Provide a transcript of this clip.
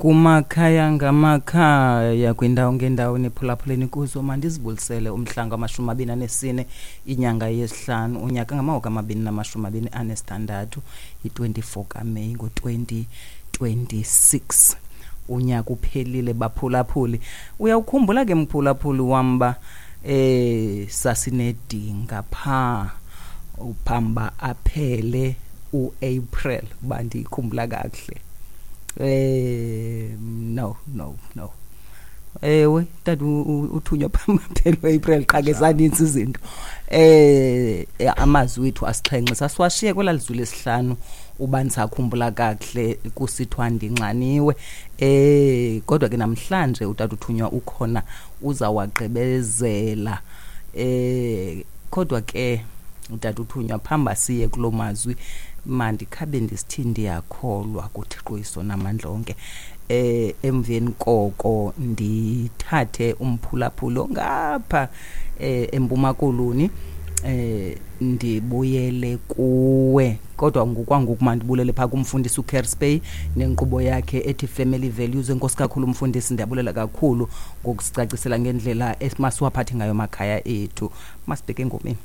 Kumakhaya ngamakhaya, kwindawo ngendawo niphulaphuleni kuzo, mandizibulisele umhla ngama-24 inyanga yesihlanu unyaka ngama-2026, yi-24 kaMeyi ngo-2026. Unyaka uphelile, baphulaphuli. Uyawukhumbula ke, mphulaphuli wam, uba sasinedinga phaa phambi aphele uApril, uba ndiyikhumbula kakuhle. No, no, no, ewe, tata uthunywa phambi aphele uApril, qha ke zanintsi izinto. Amazwi wethu asixhenxe sasiwashiye kwelaa lizwi lesihlanu, uba ndisakhumbula kakuhle, kusithiwa ndinxaniwe. Kodwa ke namhlanje utata uthunywa ukhona, uzawagqibezela. Kodwa ke utata uthunywa, phambi siye kuloo mazwi, mandikhabe ndisithi ndiyakholwa kuThixo isonamandla onke. Emveni koko ndithathe umphulaphuli ngapha eMpuma Koloni, ndibuyele kuwe. Kodwa ngokwangoku mandibulele phaa kumfundisi uKerspey nenkqubo yakhe ethi Family Values. Enkosi kakhulu, mfundisi, ndiyabulela kakhulu ngokusicacisela ngendlela emasiwaphathe ngayo amakhaya ethu. Masibheke engomeni.